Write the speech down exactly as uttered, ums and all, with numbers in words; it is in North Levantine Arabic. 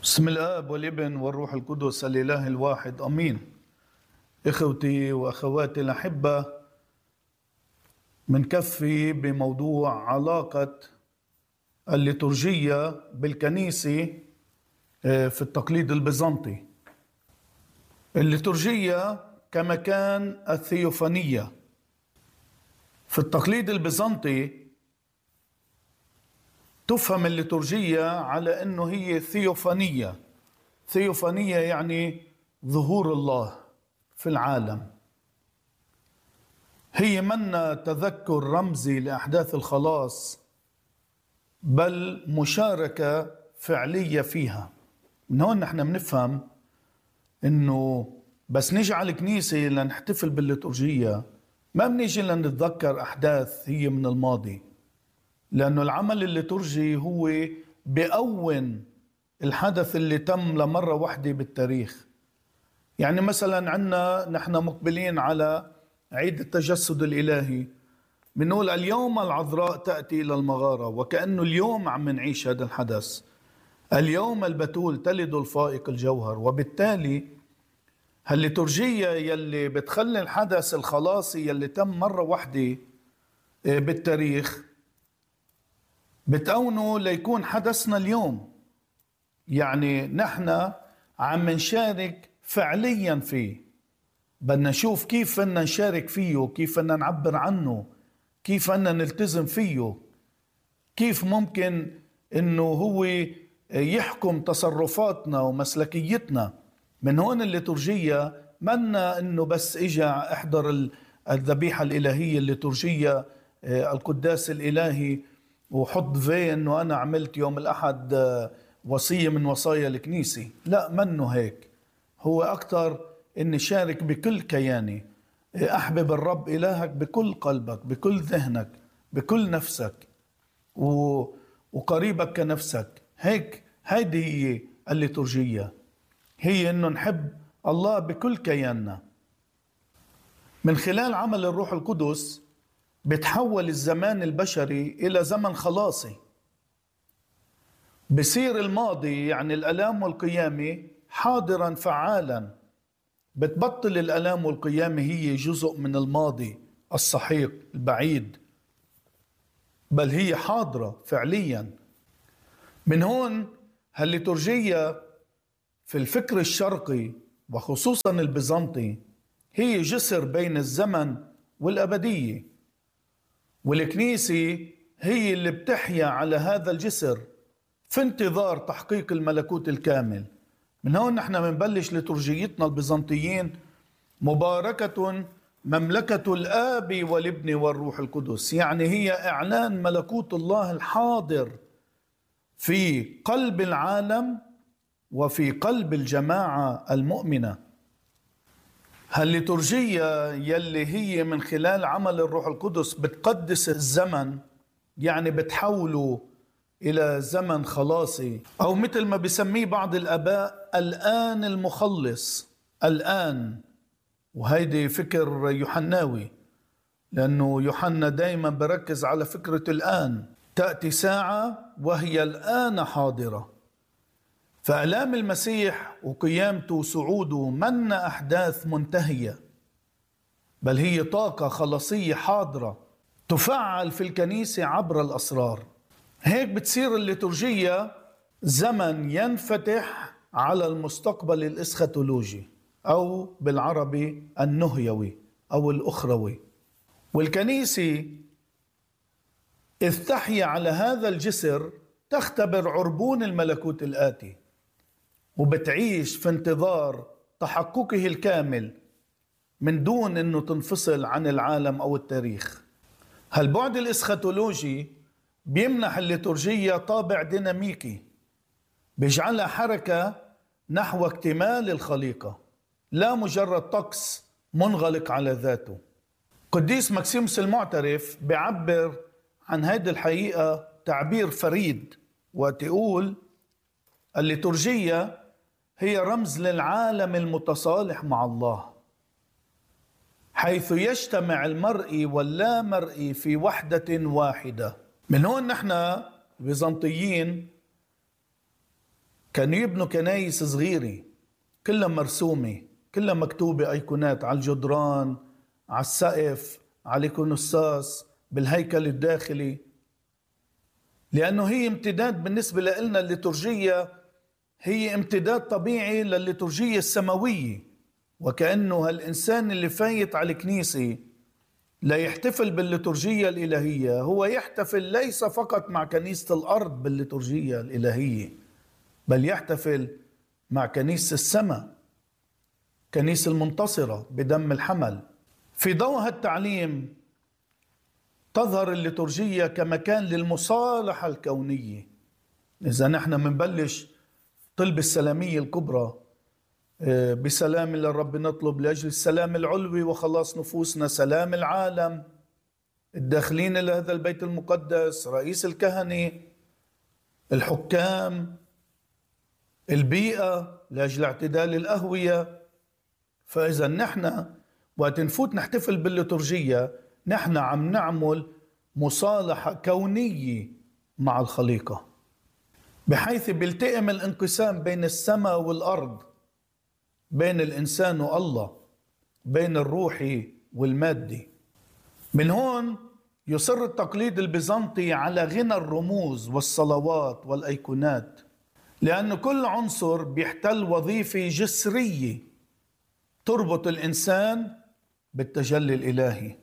بسم الآب والابن والروح القدس الإله الواحد أمين. إخوتي وأخواتي الأحبة، منكفي بموضوع علاقة الليتورجية بالكنيسة في التقليد البيزنطي. الليتورجية كمكان الثيوفانية في التقليد البيزنطي. تفهم الليتورجية على أنه هي ثيوفانية. ثيوفانية يعني ظهور الله في العالم. هي منا تذكر رمزي لأحداث الخلاص، بل مشاركة فعلية فيها. من هون نحن بنفهم أنه بس نيجي على الكنيسة لنحتفل بالليتورجية ما بنيجي لنتذكر أحداث هي من الماضي، لأنه العمل الليتورجي هو بأون الحدث اللي تم لمرة واحدة بالتاريخ. يعني مثلا عنا نحن مقبلين على عيد التجسد الإلهي، بنقول اليوم العذراء تأتي إلى المغارة، وكأنه اليوم عم نعيش هذا الحدث. اليوم البتول تلد الفائق الجوهر. وبالتالي هالليتورجية يلي بتخلي الحدث الخلاصي يلي تم مرة واحدة بالتاريخ بتأونه ليكون حدثنا اليوم. يعني نحن عم نشارك فعليا فيه، بدنا نشوف كيف بدنا نشارك فيه، كيف بدنا نعبر عنه، كيف بدنا نلتزم فيه، كيف ممكن انه هو يحكم تصرفاتنا ومسلكيتنا. من هون الليتورجية منا انه بس اجا احضر الذبيحة الالهية الليتورجية القداس الالهي وحط في انه انا عملت يوم الاحد وصية من وصايا الكنيسة. لا، منه هيك. هو اكتر اني شارك بكل كياني، احبب الرب الهك بكل قلبك، بكل ذهنك، بكل نفسك، وقريبك كنفسك. هيك هيدي هي الليتورجية، هي انه نحب الله بكل كياننا. من خلال عمل الروح القدس بتحول الزمان البشري إلى زمن خلاصي. بصير الماضي يعني الألام والقيامة حاضرا فعالا. بتبطل الألام والقيامة هي جزء من الماضي السحيق البعيد، بل هي حاضرة فعليا. من هون هالليتورجية في الفكر الشرقي وخصوصا البيزنطي هي جسر بين الزمن والأبدية، والكنيسة هي اللي بتحيا على هذا الجسر في انتظار تحقيق الملكوت الكامل. من هون نحن منبلش لتورجيتنا البيزنطيين: مباركة مملكة الآب والابن والروح القدس. يعني هي إعلان ملكوت الله الحاضر في قلب العالم وفي قلب الجماعة المؤمنة. هالليتورجية يلي هي من خلال عمل الروح القدس بتقدس الزمن، يعني بتحوله إلى زمن خلاصي، أو مثل ما بيسميه بعض الآباء الآن المخلص. الآن، وهيدي فكر يوحناوي، لأنه يوحنا دايما بركز على فكرة الآن. تأتي ساعة وهي الآن حاضرة. فآلام المسيح وقيامته وصعوده من أحداث منتهية، بل هي طاقة خلاصية حاضرة تفعل في الكنيسة عبر الأسرار. هيك بتصير الليتورجية زمن ينفتح على المستقبل الإسخاتولوجي، أو بالعربي النهيوي أو الأخروي. والكنيسة إذ تحيا على هذا الجسر تختبر عربون الملكوت الآتي، وبتعيش في انتظار تحققه الكامل من دون أنه تنفصل عن العالم أو التاريخ. هالبعد الإسخاتولوجي بيمنح الليتورجية طابع ديناميكي، بيجعلها حركة نحو اكتمال الخليقة، لا مجرد طقس منغلق على ذاته. قديس مكسيموس المعترف بيعبر عن هذه الحقيقة تعبير فريد، وتقول الليتورجية هي رمز للعالم المتصالح مع الله، حيث يجتمع المرئي واللا مرئي في وحدة واحدة. من هون نحن البيزنطيين كانوا يبنوا كنايس صغيرة كلها مرسومة، كلها مكتوبة أيقونات على الجدران، على السقف، على الإيقونوستاس، بالهيكل الداخلي، لأنه هي امتداد بالنسبة لنا. الليتورجية هي امتداد طبيعي للليتورجية السماوية، وكأنه هالإنسان اللي فايت على الكنيسة لا يحتفل بالليتورجية الإلهية، هو يحتفل ليس فقط مع كنيسة الأرض بالليتورجية الإلهية، بل يحتفل مع كنيسة السماء، كنيسة المنتصرة بدم الحمل. في ضوء هالتعليم تظهر الليتورجية كمكان للمصالحة الكونية. إذا نحن منبلش طلب السلامية الكبرى، بسلام للرب نطلب لأجل السلام العلوي وخلاص نفوسنا، سلام العالم، الداخلين إلى هذا البيت المقدس، رئيس الكهنة، الحكام، البيئة لأجل اعتدال الأهوية. فإذا نحن وقت نفوت نحتفل بالليتورجية نحن عم نعمل مصالحة كونية مع الخليقة، بحيث بيلتئم الانقسام بين السماء والأرض، بين الإنسان والله، بين الروحي والمادي. من هون يصر التقليد البيزنطي على غنى الرموز والصلوات والأيقونات، لأن كل عنصر بيحتل وظيفة جسرية تربط الإنسان بالتجلي الإلهي.